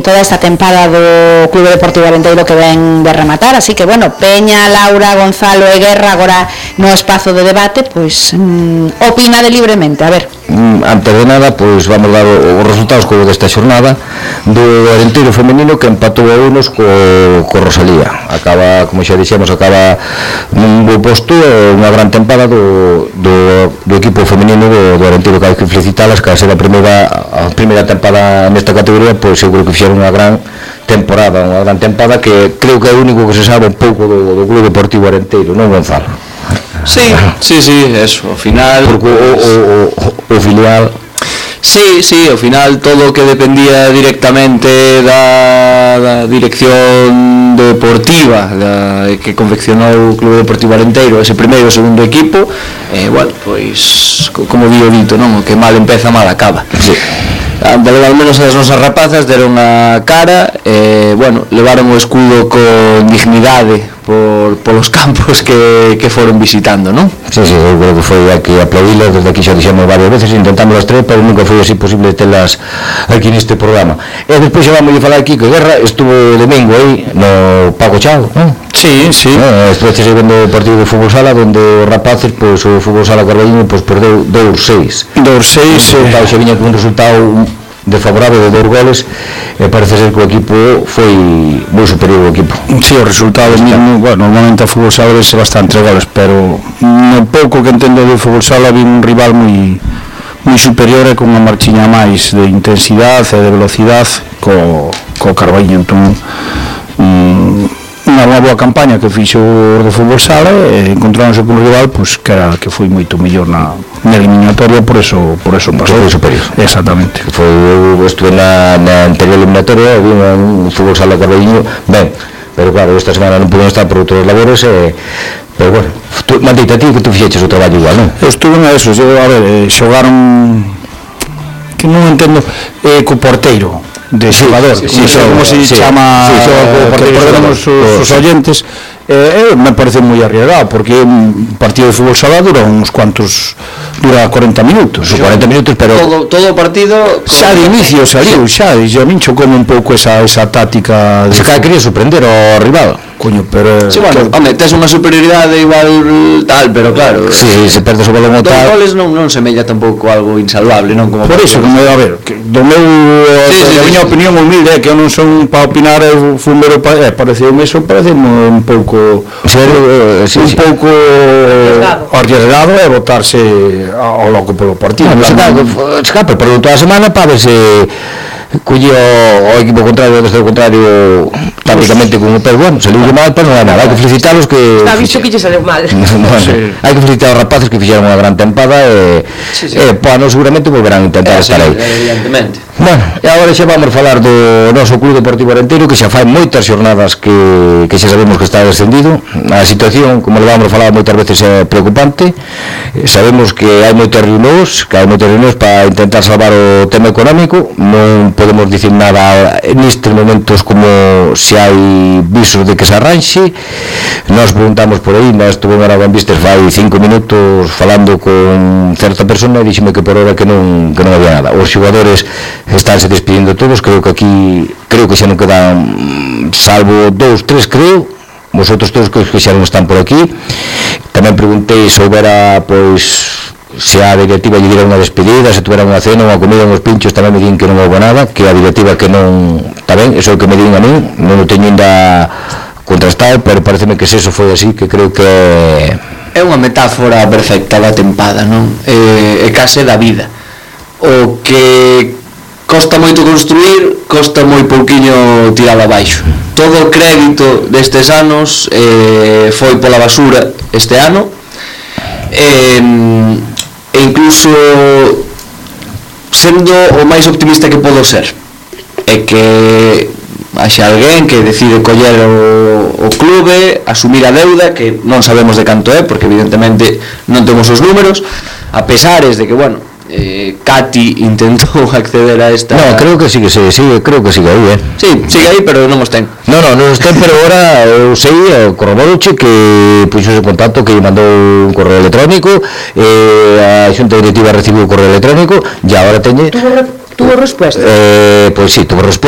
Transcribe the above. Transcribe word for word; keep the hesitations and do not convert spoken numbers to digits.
toda esta tempada do Clube Deportivo Arenteiro que ven de rematar, así que bueno, Peña, Laura, Gonzalo e Guerra agora no espazo de debate, pois mm, opinade libremente, a ver. Mm, antes de nada, pois vamos dar os resultados co desta xornada do Arenteiro femenino que empatou a unos co, co Rosalía. Acaba, como xa dixemos, acaba nun bo posto, unha gran tempada do, do, do equipo femenino do, do Arenteiro, que hai que felicitalas, que a ser a primeira, a primeira tempada nesta categoría, pois seguro que fixeron unha gran temporada, unha gran tempada que creo que é o único que se sabe un pouco do, do Clube Deportivo Arenteiro, non, Gonzalo? Sí, sí, sí, eso, ao final... Porque o, o, o, o filial... Sí, sí, ao final todo o que dependía directamente da, da dirección deportiva da, que confeccionou o Clube Deportivo Arenteiro, ese primeiro e segundo equipo, eh, bueno, pois, como digo dito, non? O que mal empeza, mal acaba. Sí. Al menos as nosas rapazas deron a cara, eh, bueno, levaron o escudo con dignidade por, polos campos que, que foron visitando, non? Sí, sí, eu creo que foi aquí aplaudilas, desde aquí xa dixemos varias veces, intentamos as tres, pero nunca foi así posible telas aquí neste programa. E despois xa vamos a falar aquí que Guerra estuvo domingo aí no Paco Chao, non? Sí, sí. Eh, estuve segundo o partido de fútbol sala, donde os rapaces, pois o fútbol sala Carballiño, pois perdeu dos seis. dos seis, eh. Xa viña con un resultado desfavorable de dos goles, e parece ser que o equipo foi moi superior ao equipo. Sí, o resultado mismo, bueno, normalmente a fútbol sala é bastante goles, pero no pouco que entendo do fútbol sala vi un rival moi moi superior e con unha marchiña máis de intensidade e de velocidade co, co Carballiño. Entón, mm, unha boa campaña que fixo o do fútbol sala e encontráronse con un rival pois, que, era, que foi moito mellor na, na eliminatoria, por eso, por eso pasou. Foi superior. Exactamente. Foi, eu estuve na, na anterior eliminatoria, vi un fútbol sala Carballiño ben, pero claro, esta semana non pude estar por outros labores, e, pero bueno, tú, Maldita, ti que tú fixeches o traballo igual, non? Eu estuve na eso, eu, a ver, eh, xogaron que non entendo, eh, co porteiro de xogador, sí, sí, sí, como se sí, chama, sí, sí, que perdemos os oyentes, eh, eh, me parece moi arriesgado, porque un partido de fútbol sala dura uns cuantos, dura cuarenta minutos, sí, cuarenta minutos, pero todo, todo o partido xa de inicio saliu, xa, e a min chocou un pouco esa, esa táctica de... Se cada quería sorprender ao rival. Coño, pero... Sí, bueno, que... home, tes unha superioridade igual tal, pero claro... Sí, se perdes o balón o tal... Dos goles non, non semella tampouco algo insalvable, non? Como por iso, como, a ver, que do meu... Sí, sí, a miña sí, opinión humilde é que eu non son para opinar, eu fui mero para... Eh, pareceu-me iso, pareceu-me un pouco... Sí, sí, un sí, pouco... arriesgado e botarse ao loco polo partido. No, no, escape, pero toda a semana para ver se... Collía o equipo contrario, desde o contrario, tácticamente con o pé bueno, saliu mal, pero non é nada, hai que felicitarlos que... Está visto que lle saliu mal. Bueno, sí. Hai que felicitar aos rapaces que fixeron unha gran tempada e, sí, sí. e bueno, seguramente volverán a intentar eh, estar sí, aí. Evidentemente. Bueno, e agora xa vamos falar do noso Clube Deportivo Arenteiro, que xa fai moitas xornadas que, que xa sabemos que está descendido. A situación, como le vamos a falar moitas veces, é preocupante. Sabemos que hai moitas reunións, que hai moitas reunións para intentar salvar o tema económico. Non podemos dicir nada nestes momentos como se hai visos de que se arranxe. Nós preguntamos por aí, nós estuvemos en Vistes fai cinco minutos falando con certa persona e dixeme que por hora que non, que non había nada. Os xogadores estánse despedindo todos, creo que aquí creo que xa non quedan salvo dous, tres creo, vosotros todos que xa non están por aquí. Tamén preguntei se houbera pois se a directiva lle diera unha despedida, se tuvera unha cena, unha comida, uns pinchos, tamén me din que non houve nada, que a directiva que non, está ben, eso é o que me din a mí, non o teño ainda contrastado, pero pareceme que se eso foi así, que creo que é unha metáfora perfecta da tempada, non? É, é case da vida. O que costa moito construir, costa moi pouquiño tiralo abaixo. Todo o crédito destes anos eh, foi pola basura este ano, e, e incluso sendo o máis optimista que podo ser, é que haxa alguén que decide coller o, o clube, asumir a deuda, que non sabemos de canto é, porque evidentemente non temos os números, a pesares de que, bueno, eh, Cati intentou acceder a esta... No, creo que sigue, sigue, sigue creo que sigue aí, eh? Sí, sigue aí, pero non os ten. No, no, non os ten, pero ahora eu sei, o corroboroche que puxo ese contacto, que lle mandou un correo electrónico, eh, a xunta directiva recibiu o correo electrónico, e agora teñe... Tuvo respuesta? Eh, pois sí, tuvo respuesta.